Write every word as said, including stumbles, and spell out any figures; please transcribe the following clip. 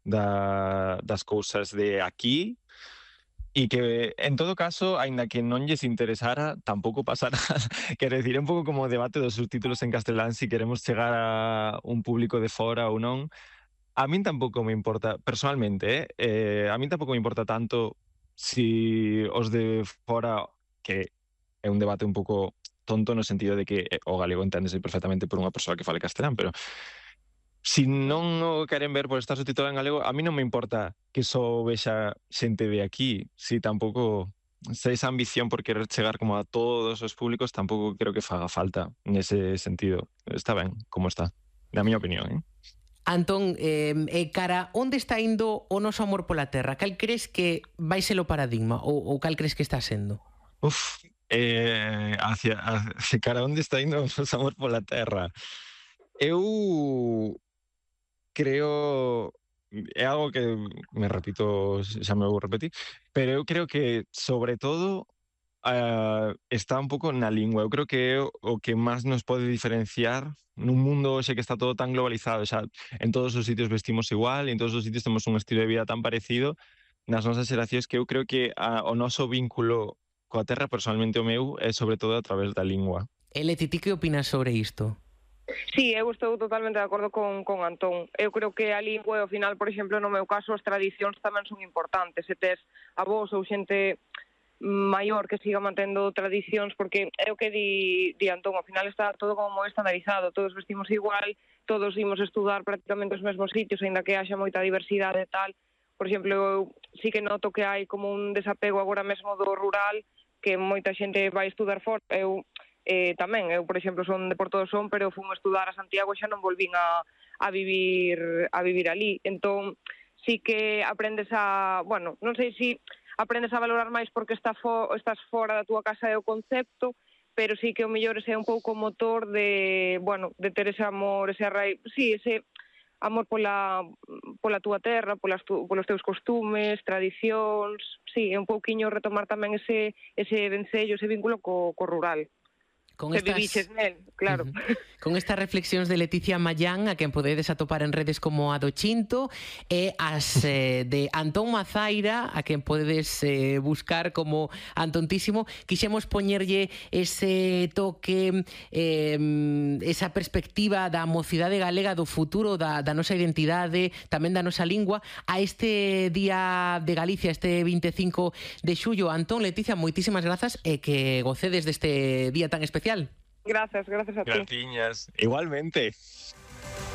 da, das cousas de aquí, e que, en todo caso, aínda que non lles interesara, tampouco pasa nada. Quero dicir, é un pouco como o debate dos subtítulos en castelán, si queremos chegar a un público de fora ou non. A min tampouco me importa, personalmente, eh, eh a min tampouco me importa tanto si os de fora, que é un debate un pouco tonto no sentido de que eh, o galego enténdese perfectamente por unha persoa que fale castelán, pero si non o queren ver por estar subtitulado en galego, a mí non me importa que só vexa xente de aquí, si tampouco se esa ambición por querer chegar como a todos os públicos, tampouco creo que faga falta nese sentido. Está ben como está, na miña opinión, eh? Antón, eh, eh, cara, onde está indo o noso amor pola terra? Cal crees que vai ser o paradigma ou, ou cal crees que está sendo? Uf, eh, hacia, hacia cara onde está indo o noso amor pola terra? Eu creo, é algo que me repito, xa me vou repetir, pero eu creo que, sobre todo, uh, está un pouco na lingua. Eu creo que é o que máis nos pode diferenciar nun mundo hoxe que está todo tan globalizado. Xa, en todos os sitios vestimos igual, en todos os sitios temos un estilo de vida tan parecido, nas nosas xeracións, que eu creo que a, o noso vínculo coa terra, personalmente o meu, é sobre todo a través da lingua. E Leti, ti que opinas sobre isto? Sí, eu estou totalmente de acordo con, con Antón. Eu creo que a lingua, ao final, por exemplo, no meu caso, as tradicións tamén son importantes. Se tes avós ou xente maior que siga mantendo tradicións, porque é o que di, di Antón, ao final está todo como moi estandarizado, todos vestimos igual, todos imos estudar prácticamente os mesmos sitios, aínda que haxa moita diversidade e tal. Por exemplo, eu sí que noto que hai como un desapego agora mesmo do rural, que moita xente vai estudar fora. Eu Eh, tamén, eu, por exemplo, son de Porto do Son, pero fun a estudar a Santiago e xa non volvín a, a vivir a vivir ali. Entón, sí que aprendes a, bueno, non sei se aprendes a valorar máis porque está fo, estás fora da túa casa é o concepto, pero sí que o mellor ese é un pouco o motor de, bueno, de ter ese amor, ese arraigo, sí, ese amor pola, pola túa terra, polas tu, polos teus costumes, tradicións, sí, é un pouquiño retomar tamén ese, ese vencello, ese vínculo co, co rural. Con que estas... viviches nel, claro. Uh-huh. Con estas reflexións de Leticia Mallán, a quen podedes atopar en redes como a do Chinto, e as eh, de Antón Mazaira, a quen podedes eh, buscar como Antontísimo, quixemos poñerlle ese toque, eh, esa perspectiva da mocidade galega, do futuro da, da nosa identidade, tamén da nosa lingua, a este Día de Galicia, este vinte e cinco de xullo. Antón, Leticia, moitísimas grazas e que gocedes deste día tan especial. Gracias, gracias a ti. Graciñas. Igualmente.